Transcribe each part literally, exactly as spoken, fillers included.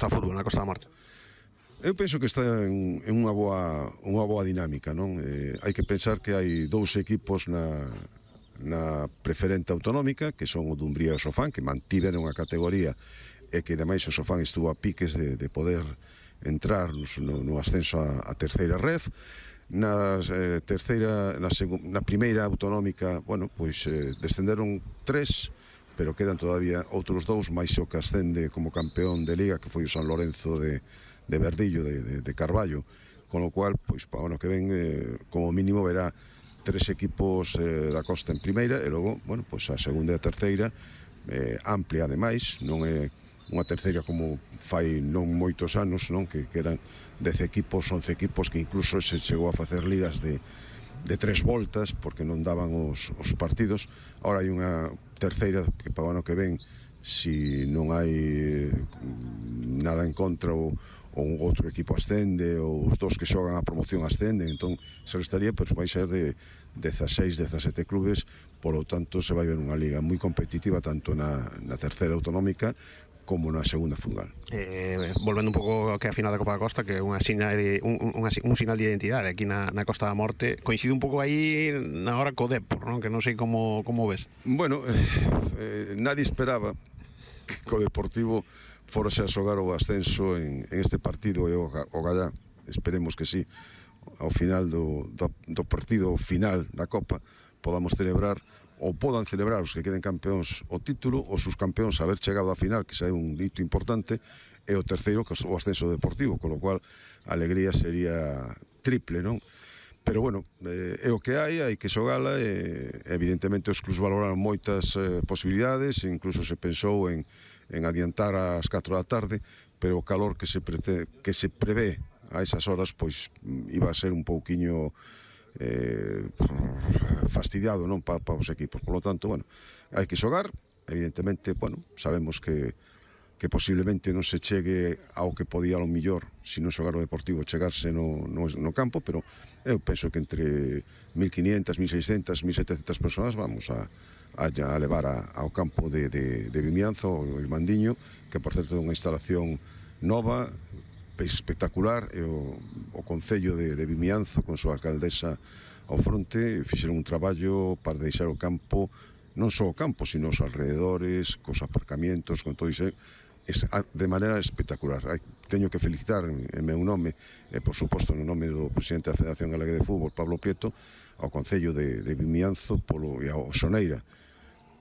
Costa Fútbol, na Costa da Morte? Eu penso que está en, en unha boa unha boa dinámica, non? Eh, hai que pensar que hai dous equipos na, na preferente autonómica, que son o Dumbría e o Sofán, que mantiveron a categoría e que ademais o Sofán estuvo a piques de, de poder entrar no, no ascenso a, a terceira ref. Na eh, terceira, na, na primeira autonómica, bueno, pois eh, descenderon tres, pero quedan todavía outros dous, máis o que ascende como campeón de Liga, que foi o San Lorenzo de de Verdillo, de, de, de Carballo, con lo cual, pois, para o ano que ven, eh, como mínimo verá tres equipos eh, da Costa en primeira, e logo, bueno, pois a segunda e a terceira, eh, amplia ademais, non é unha terceira como fai non moitos anos, non, que, que eran dez equipos, once equipos, que incluso se chegou a facer ligas de, de tres voltas, porque non daban os, os partidos. Ahora hai unha terceira que para o ano que ven, si non hai nada en contra ou ou outro equipo ascende, ou os dos que xogan a promoción ascenden, entón se estaría, pois vai ser de dezaseis, dezasete clubes, polo tanto se vai ver unha liga moi competitiva tanto na, na terceira autonómica como na segunda futsal. Eh, volvendo un pouco que a final da Copa da Costa, que é unha sinal de, un, un, un sinal de identidade aquí na, na Costa da Morte, coincide un pouco aí na hora co Depor, non? Que non sei como, como ves. Bueno, eh, eh, nadie esperaba que co Deportivo forse a xogar o ascenso en, en este partido e o, o Gallá, esperemos que sí, ao final do, do, do partido final da Copa podamos celebrar, ou podan celebrar os que queden campeóns o título, os sus campeóns haber chegado á final, que xa é un dito importante, e o terceiro, que é o ascenso deportivo, con lo cual a alegría sería triple, non? Pero bueno, eh, é o que hai, hai que xogala, e evidentemente os clubs valoraron moitas eh, posibilidades, incluso se pensou en en adiantar ás catro da tarde, pero o calor que se, prete, que se prevé a esas horas, pois iba a ser un pouquiño eh, fastidiado, non, para pa os equipos. Por lo tanto, bueno, hai que xogar, evidentemente, bueno, sabemos que que posiblemente non se chegue ao que podía ao millor, se non xogar o Deportivo, chegarse no, no, no campo, pero eu penso que entre mil quinientas, mil seiscentas, mil setecentas persoas vamos a, a, a levar a, ao campo de, de, de Vimianzo, o Irmandiño, que por certo é unha instalación nova, espectacular, e o, o Concello de, de Vimianzo, con súa alcaldesa ao fronte, fixeron un traballo para deixar o campo, non só o campo, sino os alrededores, cos aparcamientos, con todo iso, de maneira espectacular. Teño que felicitar en meu nome e por suposto no nome do presidente da Federación Galega de Fútbol, Pablo Prieto, ao Concello de, de Vimianzo polo, e ao Soneira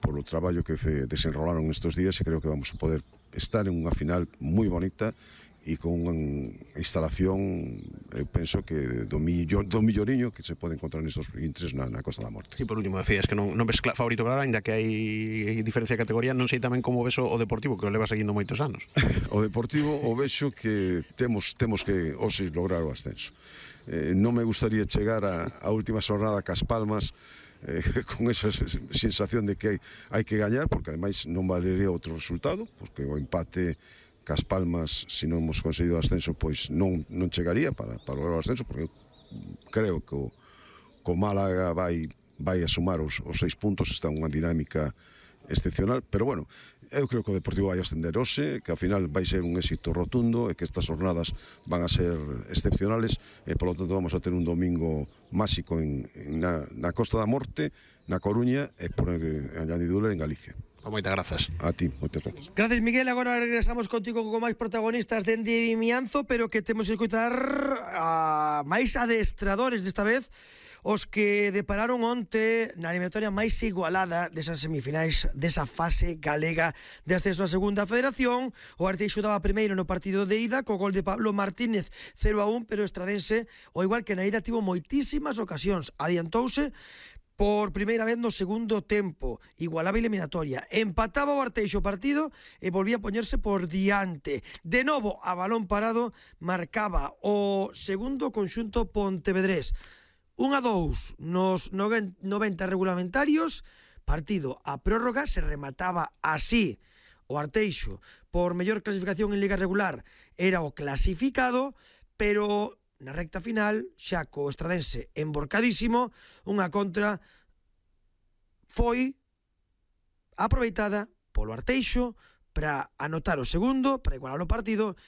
polo traballo que fe, desenrolaron estes días, e creo que vamos a poder estar en unha final moi bonita e con unha instalación, eu penso que do, millor, do milloriño que se pode encontrar nestes intres na, na Costa da Morte. Sí, por último, decías que non, non ves favorito claro, ainda que hai diferencia de categoría, non sei tamén como ves o, o Deportivo, que o leva seguindo moitos anos. O Deportivo o vexo que temos temos que hoxe lograr o ascenso. Eh, non me gustaría chegar a, a última xornada cas Palmas eh, con esa sensación de que hai, hai que gañar, porque ademais non valería outro resultado, porque o empate Cas Palmas, se non hemos conseguido o ascenso, pois non, non chegaría para, para lograr o ascenso, porque eu creo que o, que o Málaga vai, vai a sumar os, os seis puntos, está unha dinámica excepcional, pero bueno, eu creo que o Deportivo vai ascender hoxe, que ao final vai ser un éxito rotundo, e que estas jornadas van a ser excepcionales, e polo tanto vamos a ter un domingo máxico en, en na, na Costa da Morte, na Coruña, e por añadidura en Galicia. Moitas grazas. A ti, moitas grazas. Gracias, Miguel. Agora regresamos contigo con máis protagonistas dende Vimianzo, pero que temos que escutar a máis adestradores desta vez, os que depararon onte na eliminatoria máis igualada desas semifinais desa fase galega de ascenso a segunda federación. O Arteixo daba primeiro no partido de ida co gol de Pablo Martínez cero a un, pero o Estradense, ao igual que na ida, tivo moitísimas ocasións, adiantouse por primeira vez no segundo tempo, igualaba a eliminatoria, empataba o Arteixo o partido e volvía a poñerse por diante. De novo, a balón parado, marcaba o segundo conxunto pontevedrés. un a dous nos noventa regulamentarios, partido a prórroga, se remataba así. O Arteixo, por mellor clasificación en Liga Regular, era o clasificado, pero na recta final, xa co Estradense emborcadísimo, unha contra foi aproveitada polo Arteixo para anotar o segundo, para igualar o partido